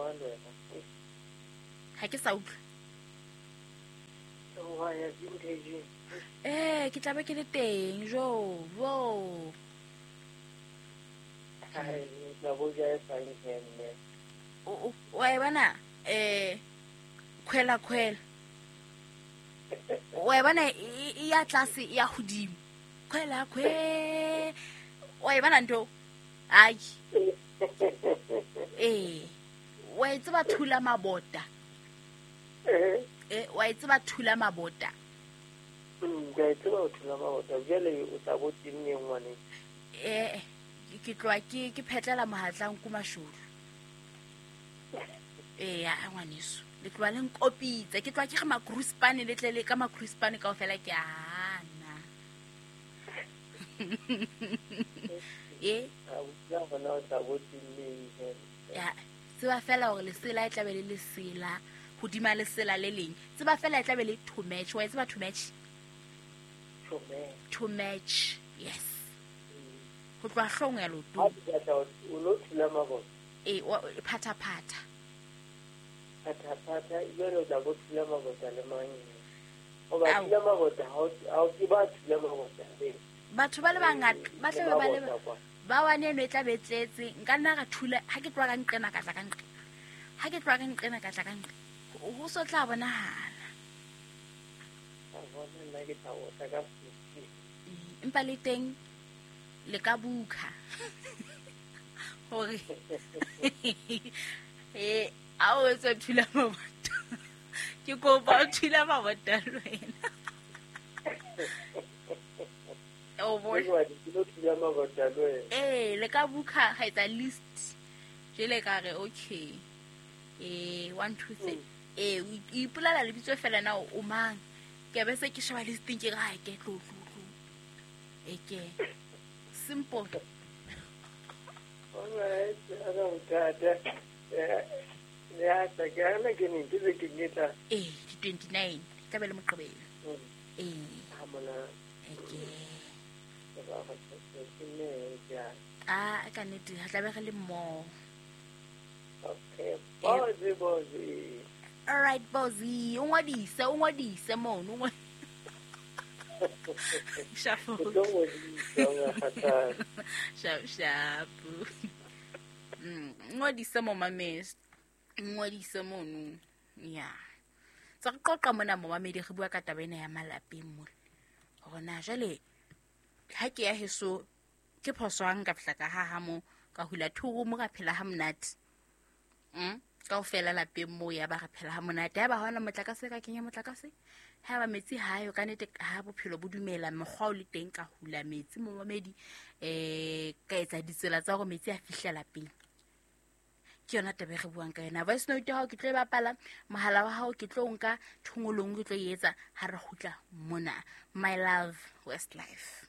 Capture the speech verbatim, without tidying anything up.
jwang le wena? Ha ke sa utlwa. Wa ya vintage. Eh, ke tla be ke le teng jo. Wo. Ai, tla bo ja e sang mme. O o e bona eh khwela khwela. O e bona e ya tlase e ya hodimo. Khwela khwe. O e bona ntho. Ai. Eh. Wa e tseba thula mabota. Eh. Eh, wa e tseba thula mabota. Mm, ke tseba thula mabota. Jwale o tla bo teng ngwane. Eh, ke tloa ke ke phetlela mohatlang ku mashodu. Eh, ya ngwaneso. Le tloa le nkopitse. Ke tloa ke re makruspane le tle le ka makruspane kaofela ke ana. Eh, a utlwa bona o tla bo teng. Ya, tseba fela hore lesela e tla be le lesela hodima lesela le leng. Tseba fela e tla be le to match. Wa tseba to match? To match. To match. Yes. Ho tloha hlong ya loto. Ha ke tla o lo thula mabota. Eh, phata phata. Phata phata jwale o tla bo thula mabota le mang? O ba thula mabota ha o ke ba thula mabota le. Batho ba le bangata ba tla ba le ba wane eno e tla be tletse. Nka nna ra thula ha ke tloha ka nqena ka tla ka nqena. Ha ke tloha ka nqena ka tla ka nqena. Ho so tla bonahala. A bona nna ke tla o tla ka fifty. Empa le teng le ka bukha. Hore eh a o etsa thula mabota. Ke kopa o thula mabota le wena. O bona. Eh, le ka bukha ga etsa list. Jele ka re okay. Eh, one two three. Eh, o ipolala lebitso fela na o mang. Ke be se ke sheba listing ke ga ke tlo tlo tlo. E ke simple. All right, ana o tata. Eh, ya ta ke ana ke ne ke ke ngetla. Eh, twenty-nine. Tla be le moqebelo. Eh. Ha mona. E ke. Ah, ka nnete ha tla be re le mmoho. Okay, bozi bozi. All right, bozi. O ngodise, o ngodise mono. Shapo. Shapo, shapo. Mm, ngodise mo mamedi. Ngodise mono. Yeah. Tsa re qoqa mona mo mamedi re bua ka taba ena ya malapeng mona. Hore na jwale ha ke ya heso ke phoso ha nka fihla ka ha ha mo ka hula thuru mo ka phela ha monate. Mm, kaofela lapeng mo ya ba re phela ha monate. Ha ba hona motlakase ka kenya motlakase. Ha ba metsi ha yo ka nete ha bophelo bo dumela mokgwa o le teng ka hula metsi mo mamedi eh ka etsa ditsela tsa hore metsi a fihla lapeng. Ke yona taba e re buang ka yona. Voice note ya hao ke tlo e bapala, mohala wa hao ke tlo nka thongolong ke tlo e etsa ha re kgutla mona. My love West Life.